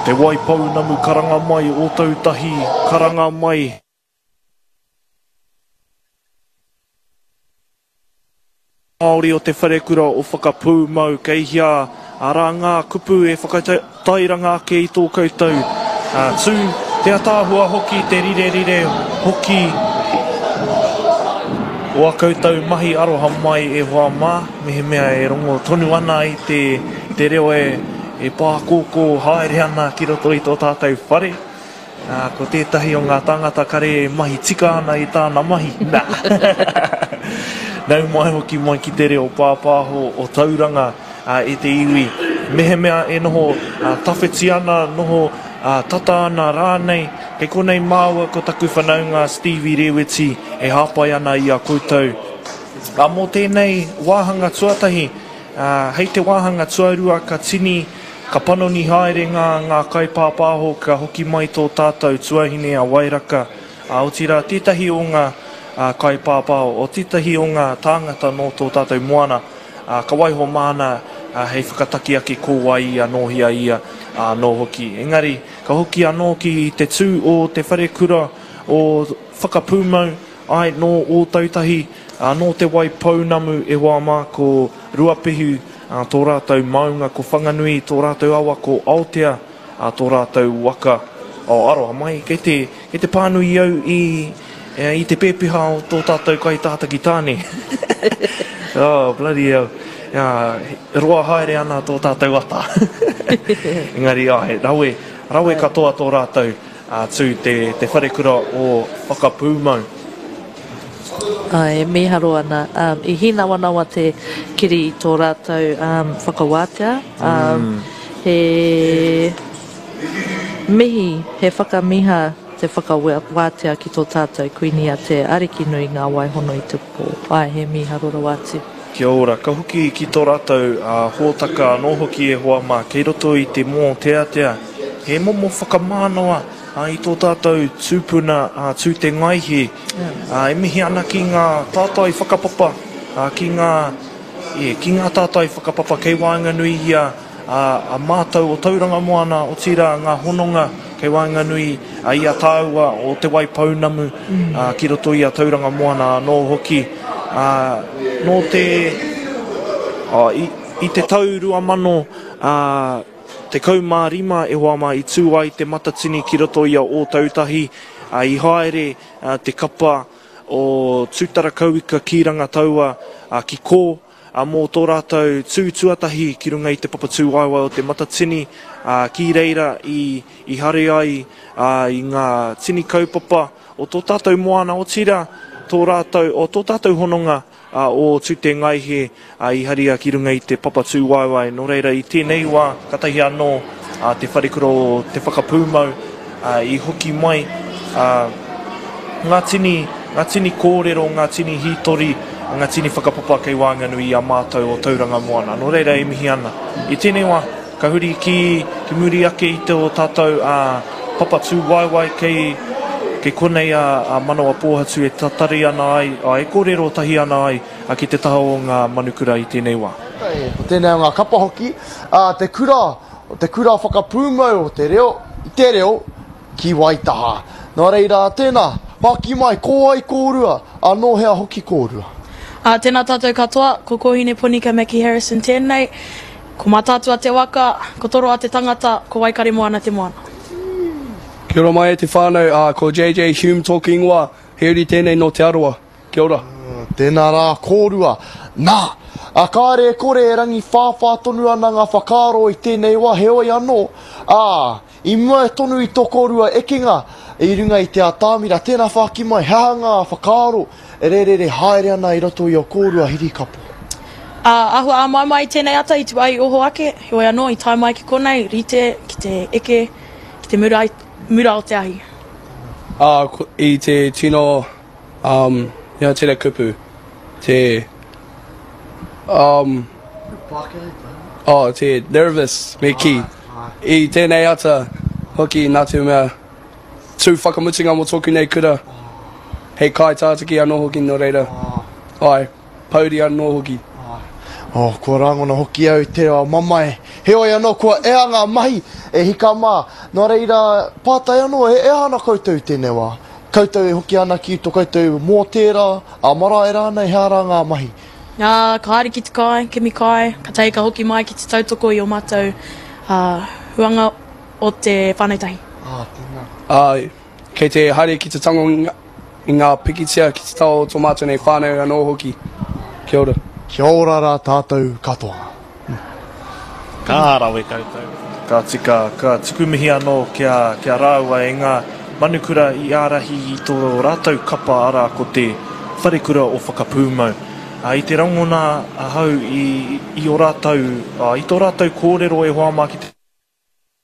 Te Waipounamu karanga mai, Ōtautahi karanga mai. Māori o Te Wharekura o Whakapūmau, kei hea arā ngā kupu e whakatairanga ake i tō koutou tū, te ataahua hoki, te rirerire hoki o a koutou mahi aroha mai e hoa mā, mehemea e rongo tonu ana i te, te reo e, e pākōkō haere ana ki roto i tō tātou whare. Ā, ko tētahi o ngā tāngata kare e mahi tika ana i tāna mahi, nā. Nau mai hoki mai ki te reo pāpāho o Tauranga e te iwi. Mehemea e noho tawhiti ana, noho tata ana rānei, kei konei māua ko taku whanaunga Stevie Reweti e hāpai ana i a koutou. Ā, mō tēnei wāhanga tuatahi, hei te wāhanga tuarua ka tini Ka panoni haere ngā ngā kaipāpāho ka hoki mai tō tātou tuahine a Wairaka, ā, otirā tētahi o ngā kaipāpāho, o tētahi o ngā tāngata nō tō tātou moana, ā, ka waiho māna hei whakataki ake ko wai ia, nō hea ia anō hoki. Engari, ka hoki anō ki te tū o te wharekura o Whakapūmau, āe, nō Ōtautahi, ā, nō Te Waipounamu e hoa mā, ko Ruapehu, ā, tō rātou maunga ko Whanganui, tō rātou awa ko Aotea, ā, tō rātou waka, oh, aroha mai, kei te, kei te pānui au i, i te pēpeha o tō tātou kaitātaki tāne. Oh, bloody hell. Ā, roa haere ana tō tātou ata. Engari, āe, rawe, rawe katoa tō rātou. Atu te te wharekura o Whakapūmau. Āe, e mīharo ana. I hīnawanawa te kiri i tō rātou whakawātea. He mihi, he whakamiha te whakawātea ki tō tātou Kuini a Te Arikinui Ngā Waihono i te Pō. Āe, he mīharo rawa atu. Kia ora. Ka hoki ki tō rātou hōtaka anō hoki e hoa mā, kei roto i te mōteatea. He momo whakamānawa i tō tātou tūpuna a Tūtengaihe. E mihi ana ki ngā tātai whakapapa, ki ngā, ki ngā tātai whakapapa kei waenganui i a, a mātou o Tauranga Moana, otirā ngā hononga kei waenganui i a tāua o Te Waipounamu ki roto i a Tauranga Moana anō hoki. Nō te, i te tau 2000, 15 e hoa mā i tū ai Te Matatini ki roto i a Ōtautahi, ā, i haere te kapa o Tūtarakauika ki Rangataua, ā, ki kō, ā, mō tō rātou tū tuatahi ki runga i te papa tūwaewae o Te Matatini, ā, ki reira i, i hare ai, ā, i ngā tini kaupapa o tō tātou moana, otirā, tō rātou, o tō tātou hononga a ō Tūtengaihe i haria ki runga i te papa tūwaewae. Nō reira, i tēnei wā, katahi anō a Te Wharekura o Te Whakapūmau i hoki mai ngā tini, ngā tini kōrero, ngā tini hītori, ngā tini whakapapa kei waenganui i a mātou o Tauranga Moana. Nō reira, e mihi ana. I tēnei wā, Ka huri ki, ki muri ake i tō tātou a papa tūwaewae kei, kei konei a, a Manawa Pōhatu e tatari ana ai, a, e kōrero tahi ana ai a, ki te taha o ngā manukura i tēnei wā. Ko tēnei o ngā kapa hoki, a, te kura, te kura whakapūmau o te reo, i te reo ki Waitaha. Nō reira, tēnā, whāki mai, ko wai kōrua, a, nō hea hoki kōrua? Ā, tēnā tātou katoa, ko Kōhine Ponika Mackie Harrison tēnei. Ko Mātaatua te waka, ko Toroa te tangata, ko Waikaremoana te moana. Kia ora mai e te whānau, ā, ko JJ Hume tōku ingoa, he uri tēnei nō Te Arawa. Kia ora. Tēnā rā kōrua. Nā, ā, kāre e kore e rangiwhāwhā tonu ana ngā whakaaro i tēnei wā, heoi anō, ā, i mua tonu i tō kōrua ekenga i runga i te atamira, tēnā whāki mai, he aha ngā whakaaro E rērere haere ana i roto i o kōrua hirikapo. Ā, āhua āmaimai i tēnei ata i tu ai i oho ake, heoi anō i tae mai ki konei, rite ki te eke ki te mura, mura o te ahi. Ā, i te tino, um, he aha tērā kupu, te, um, oh, te nervous, me kī, i tēnei ata hoki nā te mea, Tū whakamutunga mō tōku nei kura, hei kaitātaki anō hoki nō reira, āe, pouri anō hoki. Oh, kua rangona hoki au i te reo mamae. Heoi anō, kua ea ngā mahi e hika mā. Nō reira, pātai anō, e ea ana koutou i tēnei wā? Koutou e hoki ana ki to koutou mōtēra, a marae rānei, he ara ngā mahi? Ā, ka haere ki te kai, kimi kai, katahi ka hoki mai ki te tautoko i ō mātou huanga o te whānau tahi. Ā, tēnā. Āe, kei te haere ki te tango i ngā pikitia ki te taha o tō mātou nei whānau anō hoki. Kia ora. Kia ora rā tātou katoa. Ka rawe koutou. Ka tika, ka tuku mihi anō ki a, ki a rāua e ngā manukura i ārahi i tō rātou kapa arā ko te Wharekura o Whakapūmau. Ā, i te rangona ahau i, i ō rātou, ā, i tō rātou kōrero e hoa mā ki te.